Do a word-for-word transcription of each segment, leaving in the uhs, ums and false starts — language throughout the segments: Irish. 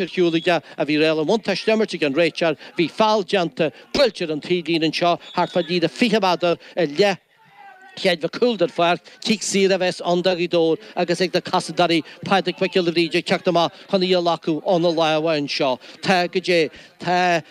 ar shiúl aige a bhí riail an bhuntáiste imirt ag an réiteoir. Bhí feall déanta, buailte ar an taobhlíne anseo, thart fá líne fiche méadar i leith Cheann Mhic Cumhaill den pháirc. Cic saor a bheas ann do Ghaoth Dobhair agus ag na casadóirí, Pádraig Mac Giolla Bhríde ag teacht amach chun í a ghlacadh óna lámha anseo. Tá, goidé, tá.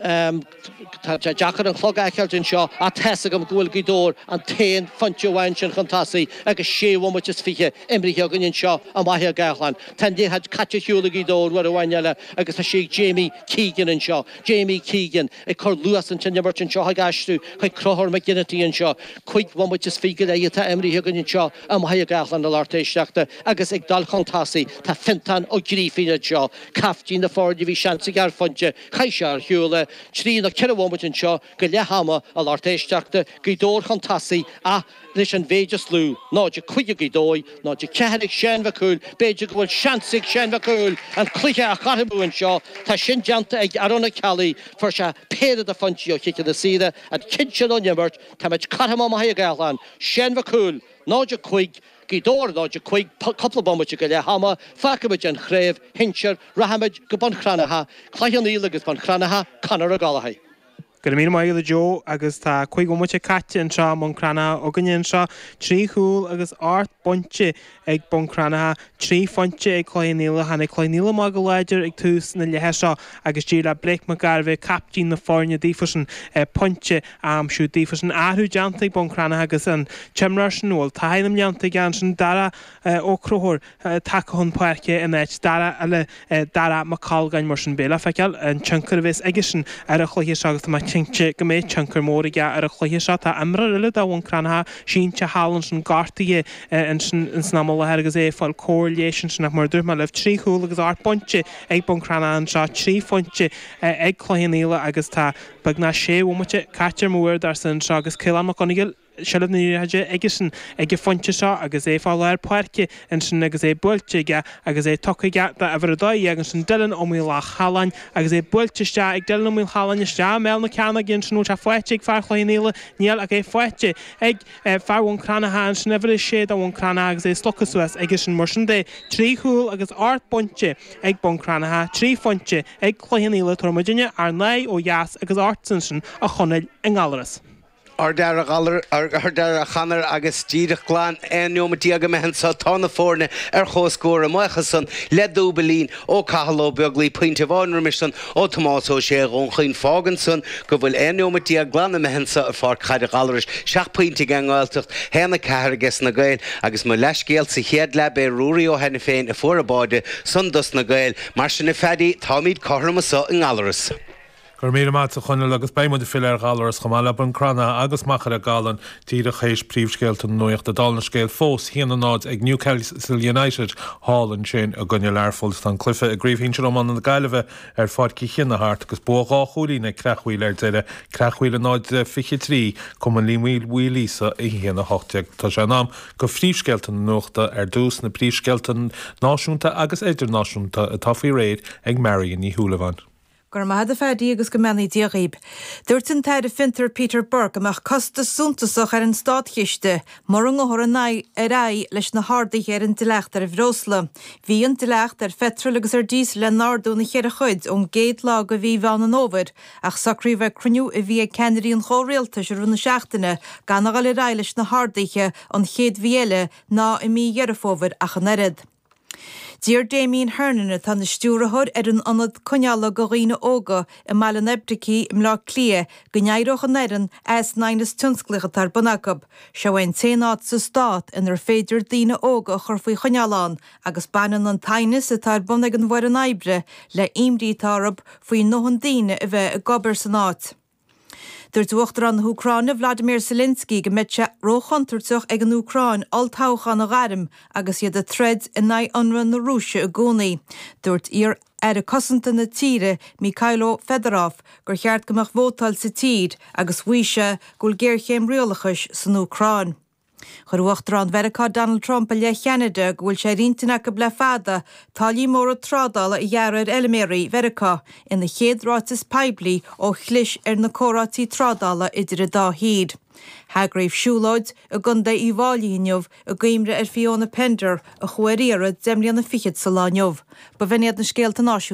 Tá sé deacair an clog a fheiceáilt anseo ach tá's agam go bhfuil Gaoth Dobhair an t-aon phointe amháin sin chun tosaigh agus sé bhomaite is fiche imrithe againn anseo i Machaire Gathlán. Tá an liathróid caite ar shiúl ag Gaoth Dobhair uair amháin eile agus tá sí ag Jamie Keegan anseo. Jamie Keegan ag cur luas ins an imirt anseo ag aistriú chuig Conchúr McGinnity anseo. Cúig bhomaite is fiche go leith atá imrithe againn anseo i Machaire Gathlán a lucht éisteachta agus ag dul chun tosaigh tá Fiontán Ó Grífín anseo. Caiftín na foirne bhí seans aige ar phointe. Chaith sé ar shiúl é. Trí nó ceithre bhomaite anseo go leath ama, a lucht éisteachta, Gaoth Dobhair chun tosaigh ach leis an mhéid is lú, náid a cúig ag Gaoth Dobhair, náid a ceathair ag Seán Mac Cumhaill. B'fhéidir go bhfuil seans ag Seán Mac Cumhaill an cluiche a chothromú anseo. Tá sin déanta ag Aaron Ó Ceallaigh. Fuair sé péire de phointí ó chiceanna saora, an ceann sin ón imirt. Táimid cothrom i Machaire Gathlán. Seán Mac Cumhaill, náid a cúig. Gaoth Dobhair náid a cúig, cúpla bomaite go leath ama, fágfaimid an chraobh shinsir, rachaimid go Bun Cranncha, Cloich Cheann Fhaola agus Bun Cranncha, Conor Ó Gallchóir. Go raibh míle maith agat a Joe agus tá cúig bhomaite caite anseo i mBun Cranncha againne anseo, trí chúl agus ocht bpointe ag Bun Cranncha, trí phointe ag Cloich Cheann Fhaola. Tháinig Cloich Cheann Fhaola amach go láidir ag tús na leithe seo agus d'éirigh le Blake Mac Gairbheith, captaen na foirne daofasan, pointe a aimsiú daofasan. Athrú déanta ag Bun Cranncha agus an t-imreoir sin, a bhfuil taithí na mblianta aige ansin, Dara Ó Conchúir, tagtha chun páirce in áit Dara eile, Dara Mac Colgáin. Mar sin, beidh le feiceáil an tionchar a bheas aigesean ar an chluiche seo agus tá mé cinnte go mbeidh tionchar mór aige ar an chluiche seo. Tá imreoir eile do Bhun Cranncha sínte thall ansin, gortaithe ansin san am i láthair agus é ag fáil cóir leighis ansin ach mar a dúirt mé libh, trí chúl agus ocht bpointe ag Bun Cranncha anseo, trí phointe ag Cloich Cheann Fhaola agus tá beagnach sé bhomaite caite ar mo uaireadóirsa anseo agus Caolán Mac Conaill, seilbh na liathróide aigesean ag an phointe seo agus é fá lár páirce ansin agus é buailte aige agus é tugtha aige d'uimhir a dó dhéag ansin Dylan Ó Maolchalláin agus é buailte isteach ag Dylan Ó Maolchalláin isteach i mbéal na cearnóige ansin bhfuil sé faighte ag fear Chloich Cheann Fhaola níl ach é faighte ag fear Bhun Cranncha ansin uimhir a sé do Bhun Cranncha agus é slogtha suas aigesean mar sin de trí chúl agus ocht bpointe ag Bun Cranncha trí phointe ag Cloich Cheann Fhaola tabharfaidh muidinne ár n-aghaidh ó dheas agus ortsa ansin a Chonaill i nGallaras. Ardfhear a Chonair agus díreach glan aon neomat déag imithe anso tá na foirne ar comhscór amuigh ansan le dúbailín ó Cathal Ó Beaglaoi, pointe amháin roimis san ó Tomás Ó Sé Dhún Chaoin. Fágann san go bhfuil aon neomat déag glan imithe anso i Pháirc Chaide Ghallarais, seacht bpointe ag an nGaeltacht, haon a ceathair ages na Gaeil agus mo leathscéal sa chéad leath b'é Ruairí Ó hAiniféin a fuair an báide san dos na Gaeil. Mar sin a Phaddy, táimíd cothrom anso i nGallaras. Go raibh míle maith agat a Chonaill agus beidh muid ag filleadh ar Ghallaras chomh maith le Bun Cranncha agus Machaire Gallan díreach théis príomhscéalta na nuachta. Dála an scéil fós, haon a náid ag Newcastle United thall ansin i gcoinne Learpholl. Tá an cluiche i gCraobh Shinsir Iomána na Gaillimhe ar Pháirc Uí Chionnaith thart agus bua dhá chúilín ag Creachmhaoil ar deireadh, Creachmhaoil a náid fiche trí, Cumann Liam Mhaoilíosa a haon a hocht déag. Tá sé in am do phríomhscéalta na nuachta ar dtús, na príomhscéalta náisiúnta agus idirnáisiúnta atá faoi réir ag Marion Ní Shúilleabháin. Go raibh maith agat a Phaddy agus go mbeannaí Dia dhaoib. Dúirt an tAire Fiontar Peter Burke go mbeadh costas suntasach ar an státchiste mura ngabhfar ar aghaidh leis na harduithe ar an dleacht ar bhreosla. Bhí an dleacht ar pheitreal agus ar díosal le n-ardú ina cheithre chuid ón gcéad lá de mhí Mheán an Fhómhair ach socraíodh ag cruinniú a bhí ag ceannairí an chomhrialtais i rith na seachtaine gan a dhul ar aghaidh leis na harduithe an chéad mhí eile ná i mí Dheireadh Fómhair ach an oiread. D'iarr Damien Hernon, atá ina stiúrthóir ar an ionad coinneála do dhaoine óga i mBaile an Oibricigh i mBleá Cliath, go n-éireodh an fhoireann as an aighneas tionsclaíoch atá ar bun acu. Seo é an t-aon áit sa stát inar féidir daoine óga a chur faoi choinneáil ann agus baineann an t-aighneas atá ar bun ag an bhfoireann oibre le imní atá orthu faoi ndóthain daoine a bheith ag obair san áit. Dúirt Uachtarán na hÚcráine Vladimir Zelensky go mbeadh sé róchontúirteach ag an Úcráin olltoghchán a ghairm agus iad ag troid in aghaidh ionradh na Rúise i gcónaí. Dúirt iar-aire cosanta na tíre Mykhailo Fedorov gur cheart go mbeadh vótáil sa tír agus mhaígh sé go bhfuil géarchéim rialachais san Úcráin. Chuir Uachtarán Mheiriceá Donald Trump i leith Cheanada go bhfuil sé ar intinn acu le fada táillí móra trádála a ghearradh ar fheilméaraí Mheiriceá ina chéad ráiteas poiblí ó chlis ar na comhráití trádála idir an dá thír. Eagraíodh siúlóid i gContae Uíbh Fhailí inniu i gcuimhne ar Fiona Pender a chuaigh ar iarraidh deich mbliana fichead sa lá inniu. B'in iad na scéalta náisiúnta.